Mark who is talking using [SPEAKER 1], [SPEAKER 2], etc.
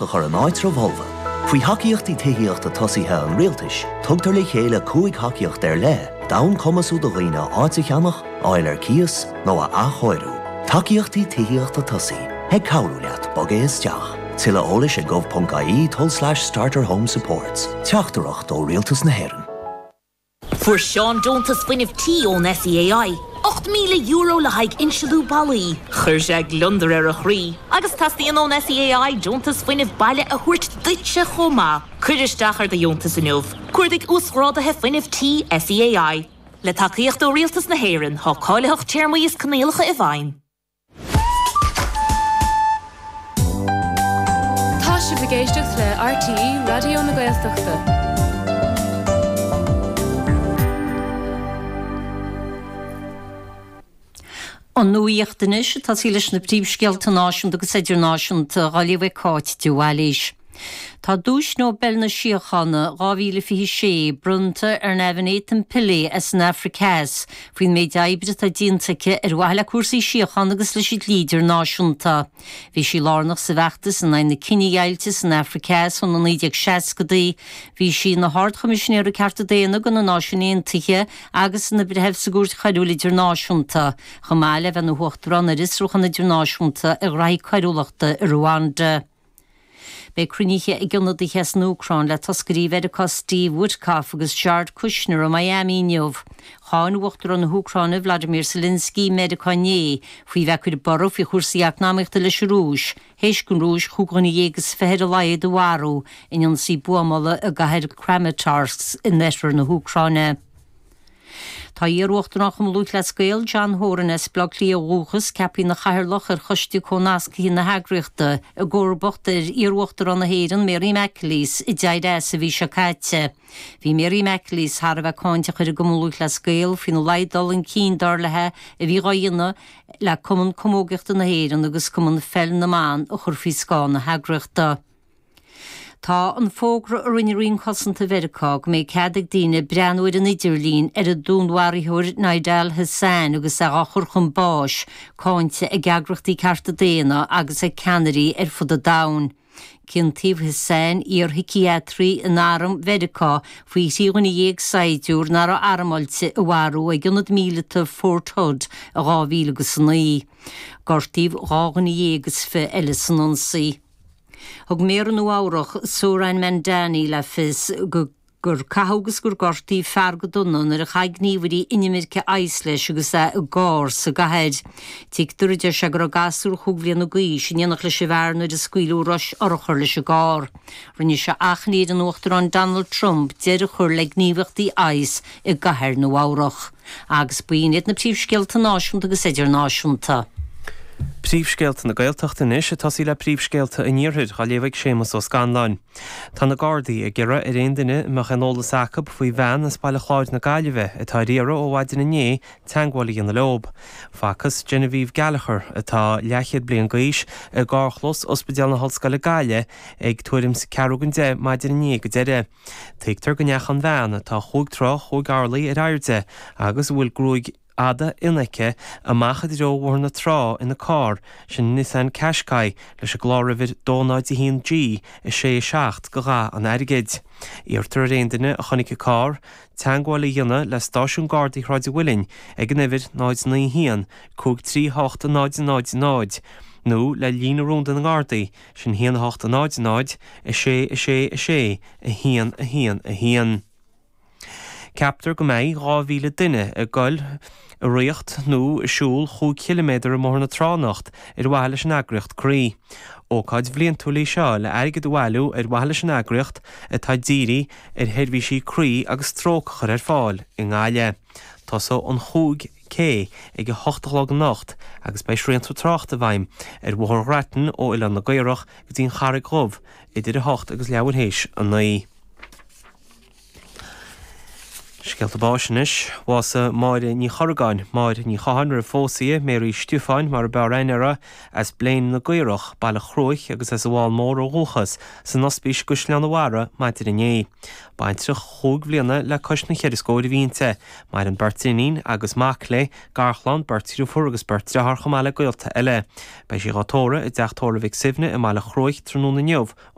[SPEAKER 1] A chur in áitreabh fholmha. Faoi Thacaíochtaí Tithíochta Tosaithe an Rialtais, tugtar le chéile 5 thacaíocht ar leith d'fhonn cumasú do dhaoine áit a cheannach, a fháil ar cíos nó a athchóiriú. Tacaíochtaí Tithíochta Tosaithe, ag cabhrú leat bogadh isteach. Tuilleadh eolais ag gov.ie tulslais starterhomesupports. Teachtaireacht ó Rialtas na hÉireann.
[SPEAKER 2] Fuair Seán deontas fuinnimh tí ón SEAI, €8,000 le haghaidh insealú ballaí. Chuir sé gliondar ar a chroí. Agus teastaíonn ón SEAI deontas fuinnimh baile a thabhairt duitse chomh maith. Cuir isteach ar do dheontas inniu. Cuardaigh Uasghráduithe Fuinnimh Tí SEAI. Le tacaíocht ó Rialtas na hÉireann, tá cáilitheacht, téarmaí is coinníollacha i bhfeidhm.
[SPEAKER 3] Tá sibh ag éisteacht le RTÉ Raidió na Gaeltachta.
[SPEAKER 4] An nuacht anois, ag tosaí leis na príomhscéalta náisiúnta agus idirnáisiúnta, á léamh ag Cáit de Bhailís. Tá Duais Nobel na Síochána 2026 bronnta ar Navanethem Pillay as an Afraic Theas faoin méid oibre atá déanta aici ar mhaithe le cúrsaí síochána agus leis an dlí idirnáisiúnta. Bhí sí lárnach sa bhfeachtas in aghaidh na cinedheighilte san Afraic Theas ó na 1960idí. Bhí sí ina hArd-Choimisinéir Cearta Daonna do na Náisiúin Aontaithe agus ina breitheamh sa gCúirt Choiriúil Idirnáisiúnta, chomh maith le bheith ina hUachtarán ar Fhiosrúchán Idirnáisiúnta ar ghraithí coiriúlachta i Ruanda. Beidh cruinnithe ag ionadaithe as an Úcráin le toscairí Mheiriceá Steve Witkoff agus Jared Kushner i Miami inniu. Cháin Uachtarán na hÚcráine Vladimir Zelensky Meiriceá inné faoi bheith ag cur borradh faoi chúrsaí eacnamaíochta leis an Rúis, théis don Rúis chúig dhuine dhéag is fiche ar a laghad a mharú in ionsaí buamála i gcathair Kramatorsk in oirthear na hÚcráine. Tá iar-Uachtarán Chumann Lúthchleas Gael, John Horan, as Baile Átha Cliath ó dhúchas, ceaptha ina chathaoirleach ar choiste comhnasctha na heagraíochta, i gcomharbacht ar iar-Uachtarán na hÉireann, Mary McAleese, a d'éirigh as an mhí seo caite. Bhí Mary McAleese thar a bheith cáinteach ar an gCumann Lúthchleas Gael faoina laghad dul chun cinn, dar léi, a bhí dhá dhéanamh le Cumann Camógaíochta na hÉireann agus Cumann Pheil na mBan a chur faoi scáth na heagraíochta. Tá an fógra a rinne Roinn Cosanta Mheiriceá go mbeidh cead ag daoine breathnú ar an idirlíon ar an dúnmharaitheoir Nidal Hasan agus é á chur chun báis, cáinte ag eagraíochtaí cearta daonna agus ag ceannairí ar fud an domhain. Ciontaíodh Hasan, iar-shíciatraí in arm Mheiriceá, faoi thrí dhuine dhéag saighdiúir nach raibh armáilte a mharú ag ionad míleata Fort Hood i 2009. Gortaíodh 12 dhuine eile san ionsaí. Thug Méara Nua Eabhrach, Zohran Mamdani le fios go gur caitheadh agus gur gortaíodh fear go dona nuair a chaith gníomhairí inimirce ICE leis agus é i gcarr sa gcathair. Tuigtear, a deir sé, go raibh gasúr chúig bhliana d'aois in éineacht leis an bhfear nuair a scaoileadh rois urchar leis an gcarr. Rinne sé achainí ar an Uachtarán Donald Trump deireadh a chur le gníomhaíochtaí ICE i gcathair Nua Eabhrach. Agus b'in iad na príomhscéalta náisiúnta agus idirnáisiúnta.
[SPEAKER 5] Príomhscéalta na Gaeltachta anois, ag tosaí le príomhscéalta an Iarthair, á léamh ag Séamus Ó Scanláin. Tá na Gardaí ag iarraidh ar aon duine a mbeadh aon eolas acu faoi bhean as Baile Chláir na Gaillimhe atá ar iarraidh ó mhaidin inné teagmháil a dhéanamh leo. Facthas Genevieve Gallagher, atá leathchéad bliain d'aois, i gcarrchlós Ospidéal na hOllscoile Gaillimh ag tuairim 's ceathrú don deich maidin inné go deireadh. Tuigtear go ndeachaigh an bhean, atá chúig troigh chúig orlaí ar airde agus a bhfuil gruaig fhada fhionn aici, amach i dtreo Bhóthar na Trá ina carr, sin Nissan Qashqai leis an gcláruimhir 201 G 6 7 de dhath an airgid. Iarrtar ar aon duine a chonaic an carr, teagmháil a dhéanamh le Stáisiún Gardaí Shráid an Mhuilinn ag an uimhir 0 9 1 5 3 8 0 0 0 nó le líne rúnda na nGardaí, Sin 1 8 0 0 6 6 6 1 1 1. Ceaptar go mbeidh 2,000 duine ag goil ag ritheacht nó ag siúl chúig chiliméadar i mBóthar na Trá anocht ar mhaithe leis an eagraíocht Croí. Ócáid bhliantúil í seo le airgead a bhailiú ar mhaithe leis an eagraíocht atá dírithe ar sheirbhísí croí agus stróc a chur ar fáil i nGaillimh. Tosóidh an 5 K ag a hocht a chlog anocht agus beidh srianta tráchta i bhfeidhm ar Bhóthar Ghrattan ó Oileán na gCaorach go dtí an Charraig Dhubh idir a hocht agus leathuair théis a naoi. Scéalta báis anois. Bhásaigh Máire Ní Chorragáin, Máire Ní Chatháin roimh phósadh di, Mary Stiofáin mar a b'fhearr aithne uirthi, as Blein na gCaorach, Baile Chruaich agus as an bhFál Mór ó dhúchas, san Ospís i gCaisleán an Bharraigh maidin inné. Baintreach chúig bhliana le cois na cheithre scóir a bhí inti. Maireann beirt iníon agus mac léi, garchlann, beirt dhriofúr agus beirt driotháir chomh maith le gaolta eile. Beidh sí dhá tórramh i dTeach Tórraimh Mhic Suibhne i mBaile Chruaich tráthnóna inniu.